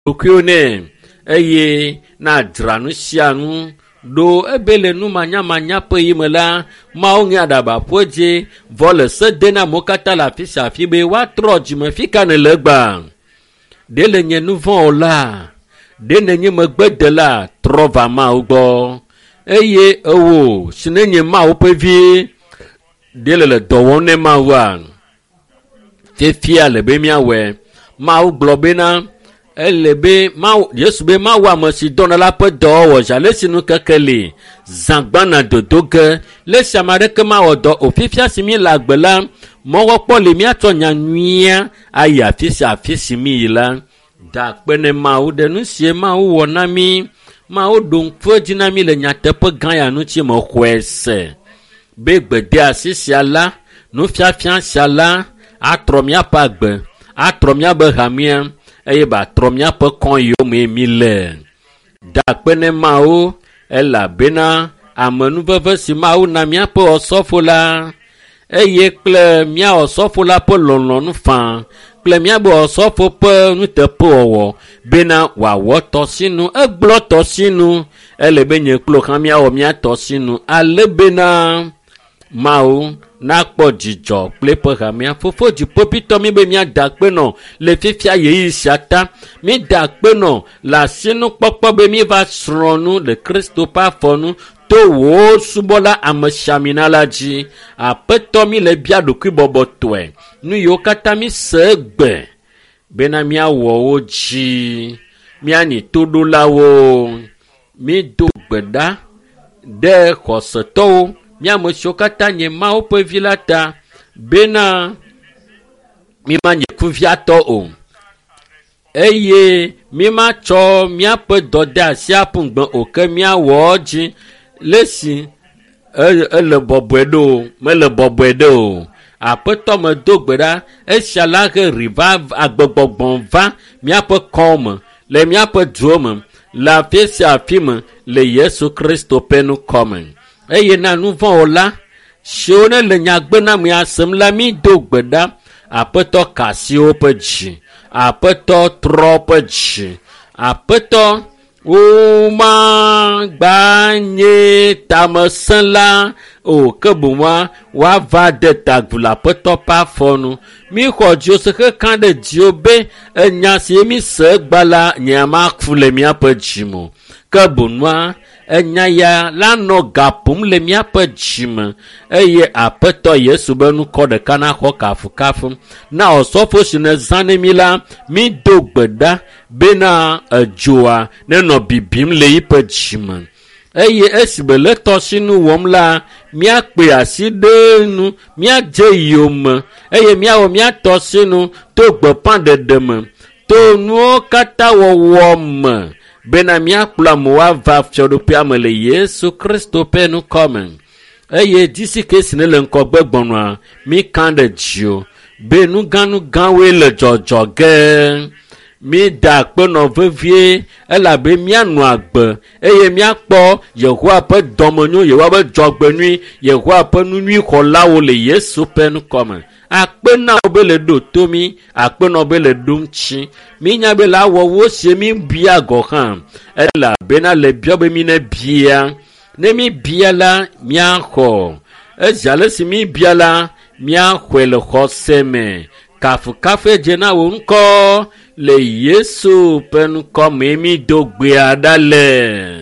Ɖokuiwo nɛ eye nadzra nu sia nu ɖo ebe le numanyamanya ƒe yi me la, Mawu ŋe aɖaba ƒu edzi vɔ le se de na amewo katã le afi sia afi be woatrɔ dzime. Fi ka nèle egbea? Ɖe le nye nu vɔ̃ o la? Ɖe nènye megbedela? Trɔ va Mawu gbɔ. Eye ewò si nenye Mawu ƒe vi, ɖe le le dɔ wɔm ne Mawua? Fifia le be míawɔe. Mawu gblɔ bena ele be Mawu, Yesu be Mawu ame si dɔna la ƒe dɔwɔwɔ zi ale si nu keke li zã gbana dodo ge. Le esi ame aɖeke mawɔ dɔ o. Fifia si míele agbe la, mɔkpɔkpɔ li míatsɔ nya nyuia ayi afi sia afi si míyi la. Da akpe ne Mawu ɖe nu sie Mawu wɔ na mí. Mawu ɖo ŋku edzi na mí le nyateƒe gã ya ŋuti mexɔe se be gbedeasi sia la, nufiafia sia la atrɔ míaƒe agbe, atrɔ míaƒe hamea eye batrɔ míaƒe kɔ yiwo mee míle. Da akpe ne Mawu elabena amenuveve si Mawu na míaƒe osɔfo la eye kple mía osɔfo la ƒe lɔlɔ̃nu faa kple míaƒe osɔfo ƒe nuteƒewɔwɔ bena wòawɔ tɔsinu. Egblɔ tɔsinu ele be nye kple wò hã míawɔ mía tɔsinu ale bena Mawu nakpɔ dzidzɔ kple eƒe hamea. Fofo dziƒoƒitɔ mí be míada akpe nɔ le fifia ɣeyiɣi sia ta. Mída akpe nɔ le asinukpɔkpɔ be míeva srɔ̃ nu le Kristo ƒe afɔ nu to wò subɔla amesiamina la dzi. Aƒetɔ mí le bia ɖokuibɔbɔtɔe. Nu yiwo katã mí se egbe bena míawɔ wo dzi. Míanyi toɖolawo. Mído gbe ɖa ɖe xɔsetɔwo mía ame siwo katã nye Mawu ƒe vi la ta bena mímanye kuviatɔ o eye mímatsɔ míaƒe dɔdeasi aƒu gbe o ke míawɔ edzi le esi ele bɔbɔe ɖo o mele bɔbɔe ɖe o. Aƒetɔ medo gbe ɖa esia la he ri va agbegbɔgbɔ va míaƒe kɔwo me le míaƒe duwo me le afi sia afi me le Yesu Kristo ƒe ŋkɔ me. Eye na nu vɔ̃ wɔla siwo ne le nyagbenamea sem la mí do gbe ɖa. Aƒetɔ ka asi woƒe dzi. Aƒetɔ trɔ woƒe dzi. Aƒetɔ womagba nye tamesẽla o ke boŋ woava de ta agu le Aƒetɔ ƒe afɔ nu. Míxɔ dziwo se xexea ɖe dziwo be enya si mí se egba la nye maku le míaƒe dzi me o. Ke boŋua enya ya la nɔ ga ƒom le míaƒe dzime eye Aƒetɔ Yesu be ŋkɔ ɖeka naxɔ kafukafu. Na osɔfo si nèzã ne mí la, mído gbe ɖa bena edzoa nenɔ bibim le yiƒe dzime. Eye esime le tɔsinu wɔm la, míakpe asi ɖe enu, míadze yome eye míawɔ mía tɔsinu to gbeƒãɖeɖe me, to nuwo katã wɔwɔ me bena míakplɔ amewo ava fiaɖuƒea me le Yesu Kristo ƒe ŋkɔ me. Eye dzisi ke si ne le ŋgɔgbe gbɔnɔa, míka ɖe dziwò be nugãnugãwoe le dzɔdzɔ ge. Mída akpe nɔ vevie elabe míanɔ agbe eye míakpɔ Yehowa ƒe dɔmenyo, Yehowa ƒe dzɔgbenyui, Yehowa ƒe nunyuixɔlawo le Yesu ƒe ŋkɔ me. Akpe na wo be le ɖo to mí, akpe na wo be le ɖo ŋuti. Mínya be le awɔ wo sie míbia gɔ̃ hã elabena le biɔ be mí ne bia. Ne míbia la, míaxɔ. Ezi ale si míbia la, míaxɔe le xɔse me. Kafukafue dze na wò ŋkɔ le Yesu ƒe ŋkɔ mee mído gbea ɖa le.